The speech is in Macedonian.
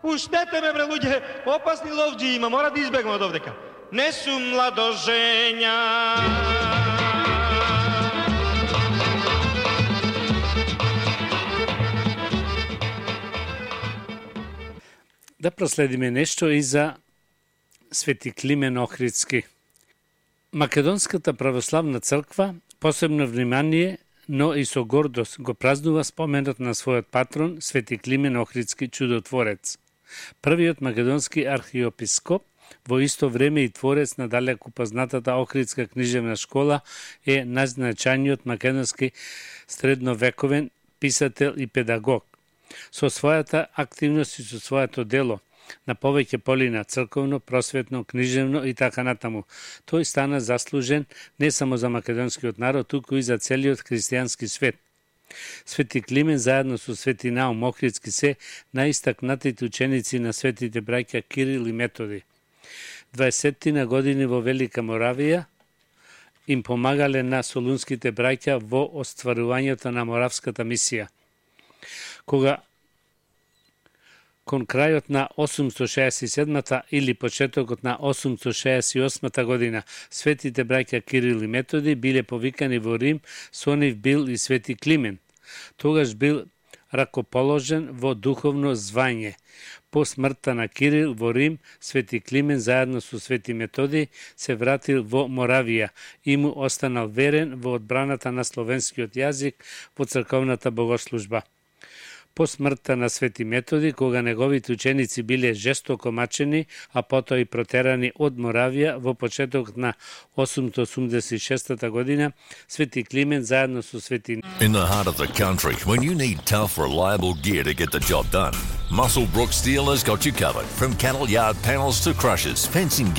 Пуштете ме, бре, луѓе, опасни ловџи има, мора да избегнем од овдека. Не сум младожења. Да проследиме нешто и за Свети Климен Охридски. Македонската православна црква посебно внимание, но и со гордост го празнува споменот на својот патрон Свети Климен Охридски чудотворец. Првиот македонски архиепископ, во исто време и творец на далеку познатата Охридска книжевна школа, е најзначајниот македонски средновековен писател и педагог. Со својата активност и со своето дело на повеќе поли на црковно, просветно, книжевно и така натаму. Тој стана заслужен не само за македонскиот народ, туку и за целиот христијански свет. Свети Климен заедно со Свети Наум Охридски се најистакнатите ученици на светите браќа Кирил и Методи. 20 години во Велика Моравија им помагале на солунските браќа во остварувањето на моравската мисија. Кога кон крајот на 867 или почетокот на 868 година светите браќа Кирил и Методи биле повикани во Рим, со нив бил и Свети Климен. Тогаш бил ракоположен во духовно звање. По смртта на Кирил во Рим, Свети Климен заедно со Свети Методи се вратил во Моравија и му останал верен во одбраната на словенскиот јазик во црковната богослужба. По смртта на Свети Методи, кога неговите ученици биле жестоко мачени, а потоа и протерани од Моравија во почетокот на 886 година, Свети Климен заедно со Свети... In the heart of the country, when you need tough, reliable gear to get the job done, Muscle Brook Steel has got you covered. From cattle yard panels to crushers, fencing